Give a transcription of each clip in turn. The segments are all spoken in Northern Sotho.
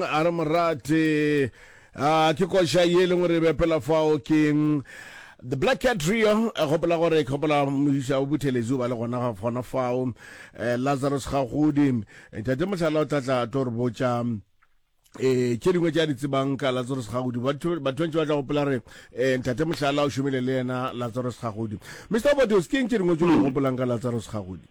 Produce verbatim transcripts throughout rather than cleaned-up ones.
A re morate a ke koša ye e leng gore e bepela fao ke The Black Cat Trio. Gopola gore ke gopola moisa o Buthelezi o ba le gona gona fao, eh, Lazarus Gagodi. Ntate Mohlala o tla tla tlo re botša eh tše dingwe tše a di tsebang ka Lazarus Gagodi. Batho batho ba ntše ba tla gopola re eh ntate Mohlala o šomile le yena Lazarus Gagodi. Mister Obados, ke eng tše dingwe tše o di gopolang ka Lazarus Gagodi?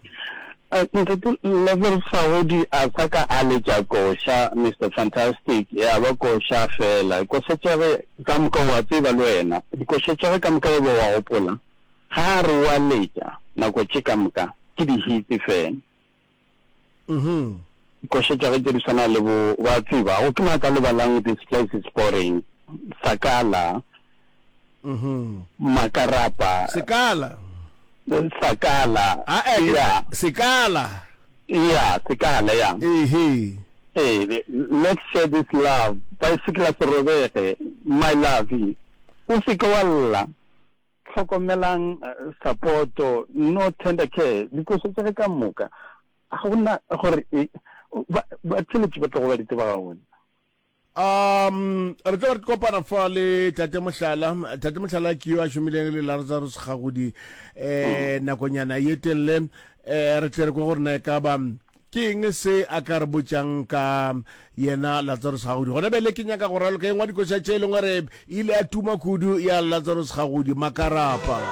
Ntate Lazarus Gagodi a sa ka a letša koša, Mister Fantastic, ya ba koša fela. Koša tša ge ka moka o a tseba le wena, dikoša tša ge ka moka e be wa gopola, ga a re o a letša nako tše ka moka ke di-hits fela. Mhm. Koša tša ge tše di swana le bo wa tseba, go ke mang a ka lebalang This Place Is Boring, Sakala, Mhm. Makarapa. Sekala. Sakala. Ah, eh, Yeah. Sekala. Yeah, Sekala, yeah. Ehe. Ee, Let's Share This Love, Baesekela se robege, My Lovey, O se ke wa lla, Hlokomelang, Sapoto, No Tender Care, dikoša tša ge ka moka, ga go na gore batheeletši ba tlogo ba di tseba gabotse. Um, re tlo re kopana fa le Tate Mohlala. Tate Mohlala ke yo a šomileng le Lazarus Gagodi eh nakonyana ye telele. Eh re tle re kwe gore na e ka ba ke eng se a ka re botšang ka yena Lazarus Gagodi. Gona bjale ke nyaka go raloka e nngwe ya dikoša tše e leng gore e ile ya tuma kudu ya Lazarus Gagodi, Makarapa.